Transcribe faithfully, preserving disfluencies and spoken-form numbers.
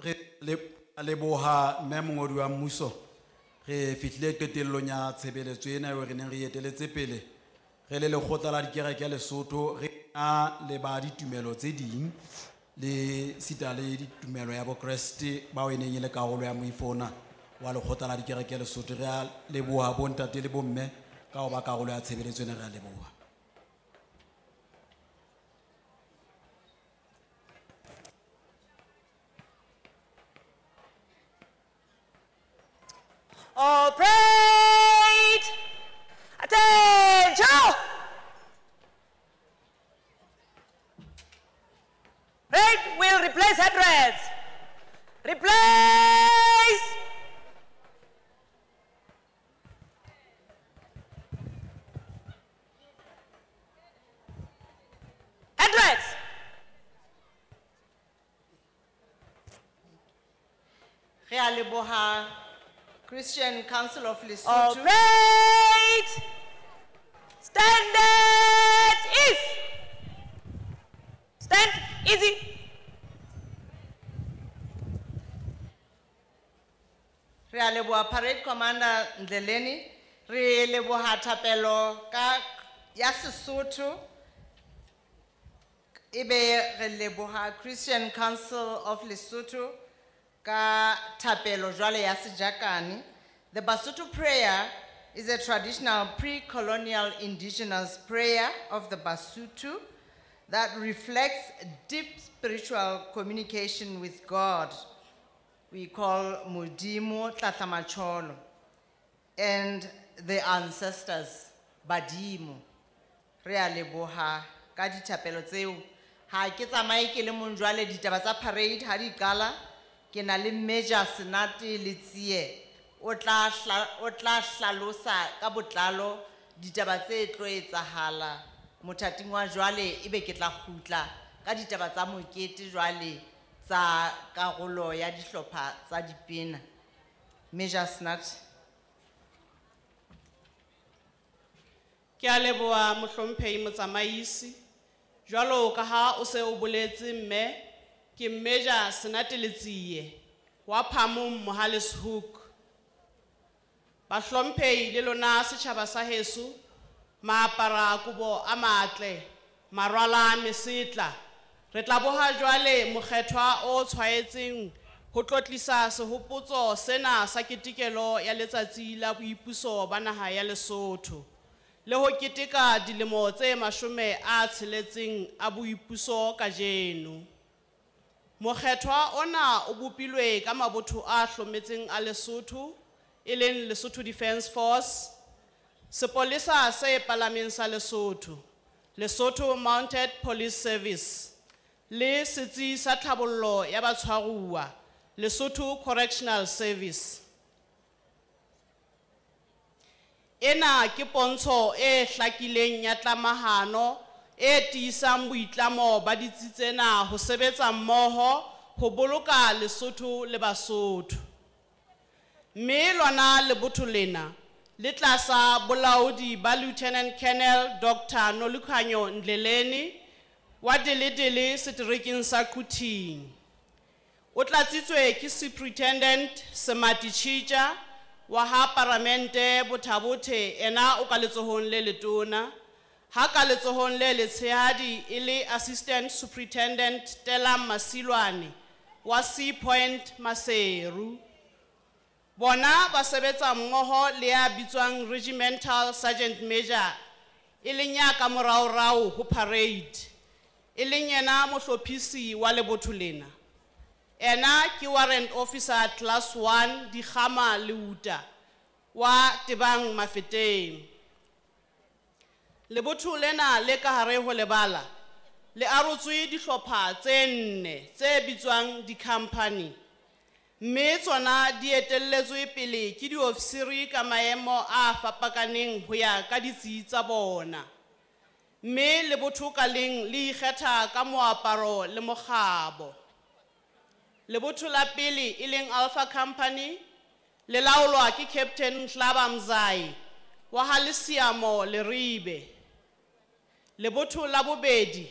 Re le leboha mme mongodi wa mmuso. Re fihlile qetellong ya tshebeletso ena eo re neng re eteletse pele. Re le lekgotla la dikereke Lesotho re na le ba ditumelo tse ding le sita le ditumelo ya Bokreste bao e neng e le karolo ya moifo ona wa lekgotla la dikereke Lesotho. Re a leboha bontate le bomme ka ho ba karolo ya tshebeletso ena, re a leboha. All prayed. Attention! Parade will replace headdress. Replace! Headdress! Re a leboha Christian Council of Lesotho. All prayed. Stand at ease. Stand easy. Re a leboha Parade Commander Ndleleni. Re leboha thapelo ka ya Sesotho. Ebe re leboha Christian Council of Lesotho ka thapelo jwale ya Sejakane. The Basotho prayer is a traditional pre-colonial indigenous prayer of the Basotho that reflects deep spiritual communication with God. We call Modimo Tlatlamacholo and the ancestors Badimo. Re a leboha ka dithapelo tseo. Ha ke tsamaye ke le mong jwale, ditaba tsa parade ha di qala, ke na le Major Senate Letsie. O tla hla-, o tla hlalosa ka botlalo ditaba tse tlo etsahala mothating wa jwale, ebe ke tla kgutla ka ditaba tsa mokete jwale tsa karolo ya dihlopha tsa dipina. Major Senate. Ke a leboha mohlomphehi motsamaisi. Jwalo ka ha o se o boletse mme, ke Major Senate Letsie wa Phamong Mohale's Hoek. Bahlomphehi le lona setjhaba sa heso, maapara kobo a matle, marwala mesetla. Re tla boha jwale mokgethwa o tshwaetseng ho tlotlisa sehopotso sena sa ketekelo ya letsatsi la boipuso ba naha ya Lesotho le ho keteka dilemo tse mashome a tsheletseng a boipuso kajeno. Mokgethwa ona o bopilwe ka mabotho a hlometseng a Lesotho, e leng Lesotho Defence Force, sepolesa se palameng sa Lesotho, Lesotho Mounted Police Service, le setsi sa tlhabollo ya batshwaruwa, Lesotho Correctional Service. Ena ke pontsho e hlakileng ya tlamahano e tiisang boitlamo ba ditsi tsena ho sebetsa mmoho ho boloka Lesotho le Basotho. Mme lona lebotho lena le tlasa bolaodi ba Lieutenant Colonel Doctor Nolukhanyo Ndleleni wa Deledele seterekeng sa Quthing. O tlatsitswe ke Superintendent Semati Chitja wa ha Paramente Bothabothe, ena o ka letsohong le letona, ha ka letsohong le letshehadi e le Assistant Superintendent Telam Masilwane wa Sea Point Maseru. Bona ba sebetsa mmoho le ya bitswang Regimental Sergeant Major, e leng ya ka moraorao ho parade, e leng yena mohlophisi wa lebotho lena. Ena ke Warrant Officer Class one Dikgama Leuta wa Tebang Mafeteng. Lebotho lena le ka hare ho lebala le arotswe dihlopha tse nne tse bitswang di-company, mme tsona di etelletswe pele ke diofisiri ka maemo a fapakaneng ho ya ka ditsi tsa bona. Mme lebotho ka leng le ikgetha ka moaparo le mokgabo. Lebotho la pele e leng Alpha Company le laolwa ke Captain Nhlaba Mzai wa ha Lesiamo Leribe. Lebotho la bobedi